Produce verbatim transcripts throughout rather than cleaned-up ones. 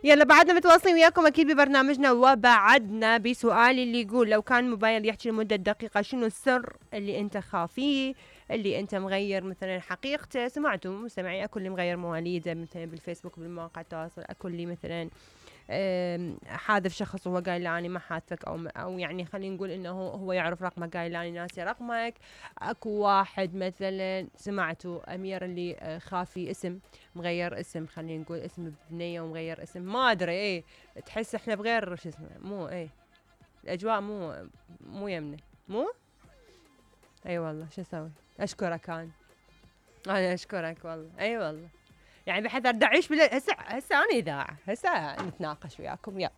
يلا بعدنا متواصلين وياكم اكيد ببرنامجنا، وبعدنا بسؤالي اللي يقول لو كان موبايل يحكي لمدة دقيقة شنو السر اللي انت خافيه، اللي انت مغير مثلا حقيقته. سمعتوا مستمعي اكو اللي مغير مواليده مثلا بالفيسبوك بالمواقع التواصل، اكو اللي مثلا حاذف شخص وهو قايل له اني ما حاذفك، او او يعني خلينا نقول انه هو يعرف رقمك قايل له اني ناسي رقمك. اكو واحد مثلا سمعتوا امير اللي خافي اسم مغير اسم، خلينا نقول اسم بنيه ومغير اسم، ما ادري ايه تحس احنا بغير شو اسمه مو ايه الاجواء مو مو يمنا مو اي أيوة والله شو اسوي. اشكرك انا انا اشكرك والله اي أيوة والله يعني بحذر دعيش بلا هسه هسه انا اذاعه هسه نتناقش وياكم يلا.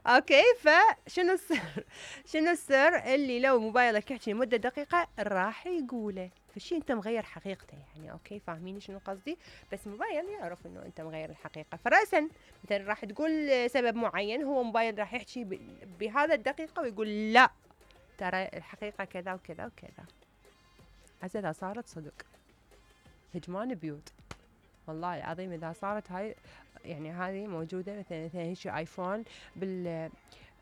اوكي فشنو السر شنو السر اللي لو موبايلك يحكي لمده دقيقه راح يقوله، فشي انت مغير حقيقته يعني. اوكي فاهمين شنو قصدي؟ بس موبايل يعرف انه انت مغير الحقيقه، فراسا مثلا راح تقول سبب معين، هو موبايل راح يحكي بهذا الدقيقه ويقول لا ترى الحقيقه كذا وكذا وكذا. هسه اذا صارت صدق هجمان بيوت والله العظيم، اذا صارت هاي يعني هذه موجوده مثلا مثلا هيك ايفون بال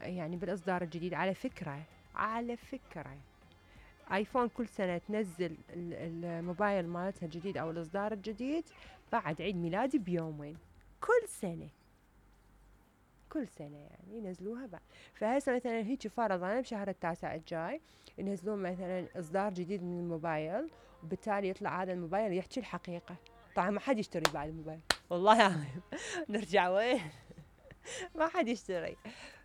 يعني بالاصدار الجديد. على فكره على فكره ايفون كل سنه تنزل الموبايل مالتها الجديد او الاصدار الجديد بعد عيد ميلادي بيومين كل سنه كل سنه يعني ينزلوها بعد. فهسه مثلا هيك فرضا بشهر التاسع الجاي ينزلون مثلا اصدار جديد من الموبايل، وبالتالي يطلع هذا الموبايل يحكي الحقيقه. طبعا ما حد يشتري بعد الموبايل والله العظيم نرجع وين ما حد يشتري.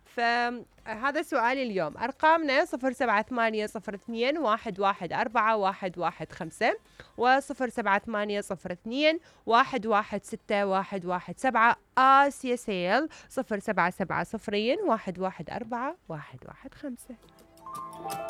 فهذا سؤالي اليوم. أرقامنا صفر سبعة ثمانية صفر اثنين واحد واحد أربعة واحد واحد خمسة وصفر سبعة ثمانية صفر اثنين واحد واحد ستة واحد واحد سبعة. آسيا سيل صفر سبعة سبعة صفرين واحد واحد أربعة واحد واحد خمسة.